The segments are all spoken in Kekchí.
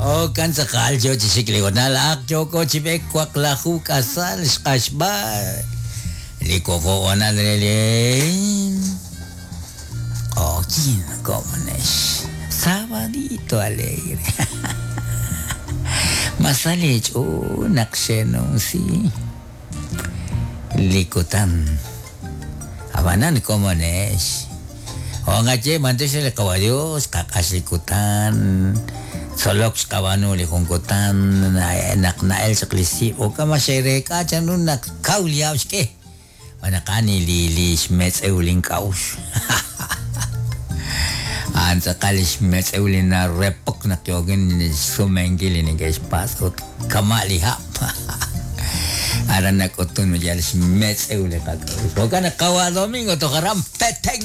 Jo'kan tz'aqal yo chi xik li honal ak yooko chi b'eek waqlaju k'asal xq'axb'al li wuqub' honal re li q'oqyink komonex. Sabadito alegre. Ma sa leech'ool naq xeenumsi li kutan. Ab'anan komonex. Jo' nqaye b'antiox re li Qawa' Dios, xqaq'ax li kutan, tzolok xqab'aanu li jun kutan, naq na'el chaq li sib' jo'kan ma xe'reek'a chanru naq kaw li hab' xk'e. Xb'aan naq a'an li li xmetz'ew link'a'uxl. A'an tz'aqal li xmetz'ew li narepok naq yookin xsumenkil li neke'xpatz' ut kama' li hab'. Aran nak'utun yal xmetz'ew li qak'a'uxl. Jo'kan naq qawa' Domingo toj aran Petén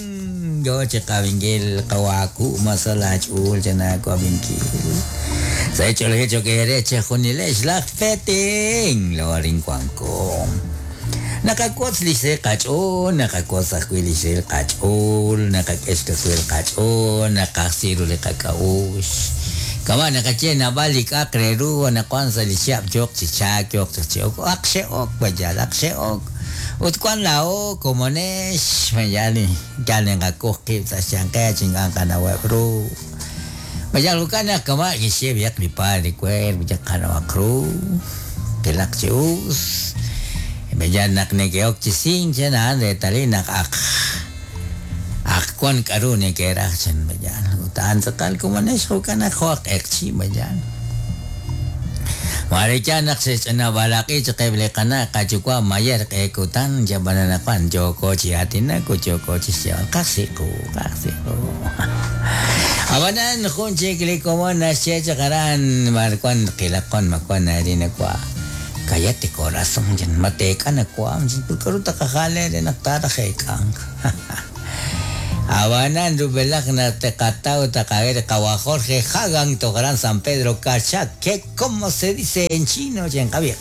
yo chi qawinkil qawa' Ku' ma sa laach'uul chanaawab'inkil. Sa' ch'oolejil cho'q eere chejunilex laj Petén lorin wanko. Naqawotz li xsahil qach'ool, naqawotz ajwi' li xsahil qach'ool, naqak'e xkasuhel qach'ool, naqajsi ru li qak'a'uxl. Kama' naqaye naab'al li k'a'aq re ru anaqwan sa' li chihab' yooq chi chaak, yooq chaq chi ok, aq xe'ok mayal, aq xe'ok. Ut wan laa'o komonex, mayal yal naqakoj qib' sa' xyanqeb' chi ink'a' nqanaweb' ru. Mayal jo'kan naq kama' kixye b'ayaq li padre Cuervo, yal qanawaq ru, qilaq chi us. Mayal naq neke'ok chi sink chan a'an reetalil naq aq Ak wan k'a'ru neke'raj chan Mayal, ut a'an tz'aqal komonex jo'kan naq jo' aj q'eqchi' Mayal. Maare yaal naq xe'xch'ina b'alaq'i chaq eb' li qana' qayuwa' mayer q'e kutan, yab'an anaqwan yooko chi aatinak ut yooko chi xyeeb'al qajsi qu, qajsi qu. Ab'anan jun chik li komon naxye chaq aran b'ar wan qilaq wan ma wan arin nawa'. Cállate corazón, chan, ma teek'a nawaam, chan, ut k'a'ru taqajal eere naq taaraj eek'ank. Ab'anan rub'elaj naq teqataw taqahe li qawa' Jorge Hagan toj aran San Pedro Carchá, que como se dice en chino, chan, qab'iq.